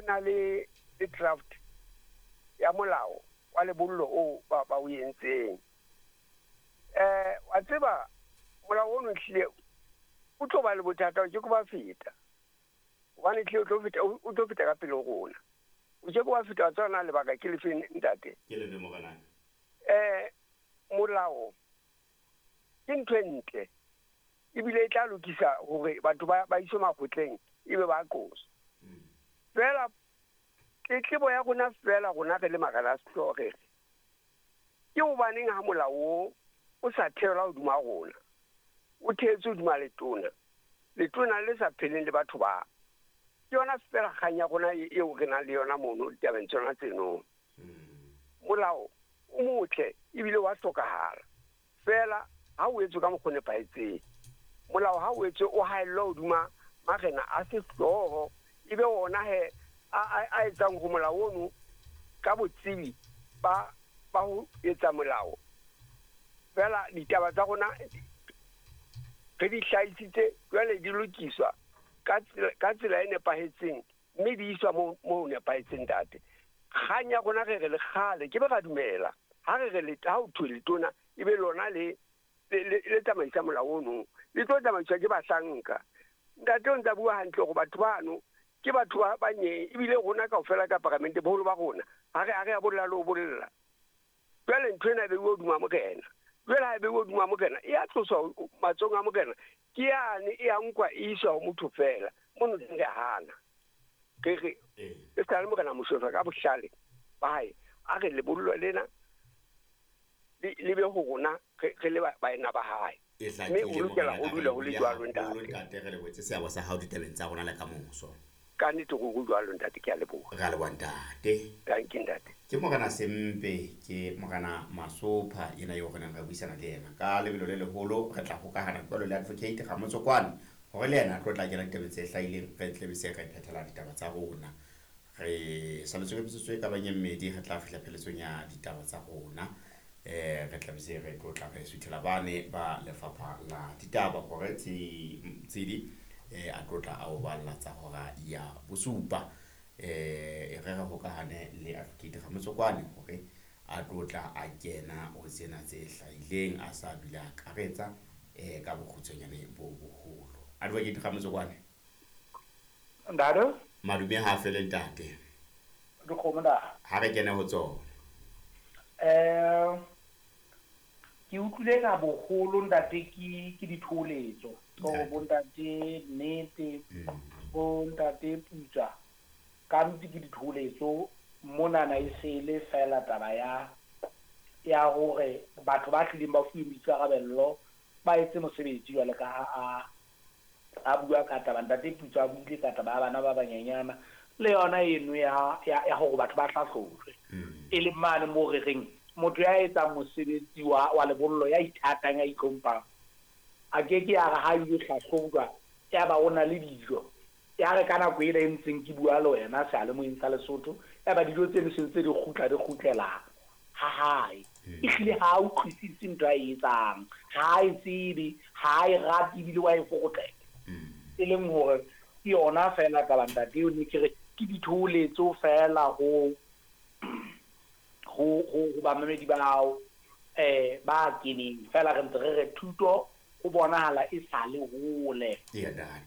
na le draft ya molao wa lebollo o ba o entseng. Wa tseba molao ono hlile o tlo ba le bothata ke go ba feta. Hobane hlile o tlo feta ka pele ho rona. O ke go ba feta tsona lebaka ke lefeng ntate. Ke le morenaka. Molao ke ntho e ntle. Ebile e tla lokisa hore batho ba iswe makgotleng ebe ba qosa. Fela tletlebo ya rona fela rona re le marena a sehlooho re re ke hobaneng ha molao o sa theelwa hodima rona, o theetswe hodima letona, letona le sa pheleng le batho ba. Ke yona fela kgang ya rona eo re nang le yona mono ditabeng tsona tseno. Molao o motle ebile wa hlokahala, fela ha o etswe ka mokgwa o nepahetseng. Molao ha o etswe o haellwa hodima marena a sehlooho, ebe ona he a etsang ho molao ono ka botsebi ba ho etsa molao. Fela ditaba tsa rona re di hlahisitse jwale di lokiswa ka tsela e nepahetseng, mme di iswa mo nepahetseng ntate. Kgang ya rona re re le kgale ke be ra dumela ha re re ha o thwe letona ebe lona le tsamaisa molao ono, le tlo tsamaiswa ke bahlanka. Ntate o ntsa bua hantle hore batho bano ke batho ba banye, ebile rona kaofela ka paramente boholo ba rona ha re a bolla le ho bolla. Jwale ntho ena e beuwe hodima morena. Jwale ha e beuwe hodima morena, e a tloswa matsohong a morena, ke yane e a nkwa e iswa ho motho fela. Mono re hana. Re re e sa le morena Moshoeshoe ka bohlale ba hae a re lebollo lena le be ho rona re le baena ba hae. Mme o lokela ho dula ho le jwalo ntate. Ntate re lebohetse seabo sa hao ditabeng tsa rona le ka moso. Ka nnete go jwalo ntate, ke a leboha. Re a leboha ntate. Thank you ntate. Ke morena Sempe, ke morena Masopha yena eo re neng re buisana le yena ka lebelo le leholo. Re tla hokahana jwalo le advocate Ramotsokwane hore le yena a tlo tla kena ditabeng tse hlahileng, re tle be se re phethela ditaba tsa rona. Re saletswe ke metsotso e ka bang e mmedi, re tla fihla pheletsong ya ditaba tsa rona. Re tla be se re tlo tla re suthela bane ba lefapha la ditaba hore Tsedi a tlo tla a o balla tsa hora ya bosupa. Re re hokahane le advocate Ramotsokwane hore a tlo tla a kena ho tsena tse hlahileng a sa bile akaretsa ka bokgutshwanyane bo boholo. Advocate Ramotsokwane. Ntate? Madume ha fele ntate. Dikgomo da. Ha re kene ho tsona. Ke utlwile ka boholo ntate ke ditholetso. Ko bontate Nnete, bontate Putswa. Ka ntse ke ditholetso monana e sele fela taba ya hore batho ba tlileng ba fuwe boikarabello ba etse mosebetsi jwale ka ha a bua ka taba ntate Putswa a buile ka taba ya bana ba banyenyana le yona eno ya hore batho ba hlahlojwe. E le mane mo re reng motho ya etsang mosebetsi wa lebollo ya ithatang ya itlhomphang a ke ke ya re ha ile hlahlojwa ya ba o na le dijo ya re ka nako ena e ntseng ke bua le wena seyalemoyeng sa Lesotho ya ba dijo tseno se ntse di kgutla di kgutlela ha hae. Ehlile ha a utlwisise ntho a e etsang, ha a e tsebe, ha a e rate ebile wa e fokotlela. E leng hore ke yona fela taba ntate eo ne ke re ke ditholetso fela ho bamamedi bao ba keneng fela re ntse re re thuto ho bonahala e sa le hole.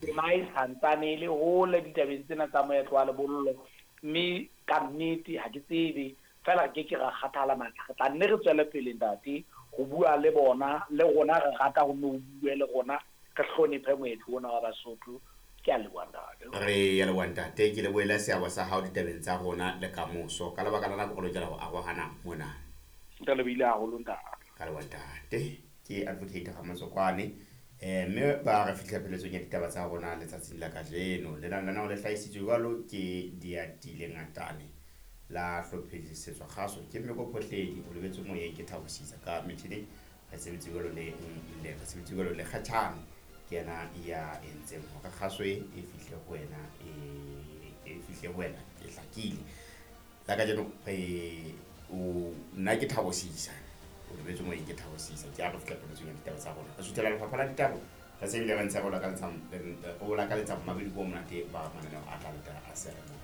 Tema e santsane e le hole ditabeng tsena tsa moetlo wa lebollo, mme ka nnete ha ke tsebe fela re ke ke ra kgathala matla. Re tla nne re tswele pele ntate ho bua le bona, le rona re rata ho nne ho bue le rona, re hlonephe moetlo ona wa Basotho. Ke a leboha ntate. Re a leboha ntate, ke lebohela seabo sa hao ditabeng tsa rona le kamoso. Ka lebaka la nako re lokela ho arohana mona. Ke lebohile haholo ntate. Ka leboha ntate. Ke advocate Ramotsokwane. Mme ba re fihla pheletsong ya ditaba tsa rona letsatsing la kajeno. Lenaneo le hlahisitswe jwalo ke Diatile Ngatane la hlophisetswa kgaso ke Mmeko Phohledi, o lebetse moyeng ke Thabo Sisa ka metjhineng. Re sebetse jwalo le re sebetse jwalo le Kgatjhane ke yena ya entseng hore kgaso e fihle ho wena, e fihle ho wena e hlakile. La kajeno re o nna ke Thabo Sisa, o lebetse moyeng ke Thabo Sisa, ke a re fihla pheletsong ya ditaba tsa rona. Re suthela lefapha la ditaba, re se bile re ntse re o lakaletsa mabedi ko monate ba mananeo a tla latela a seyalemoya.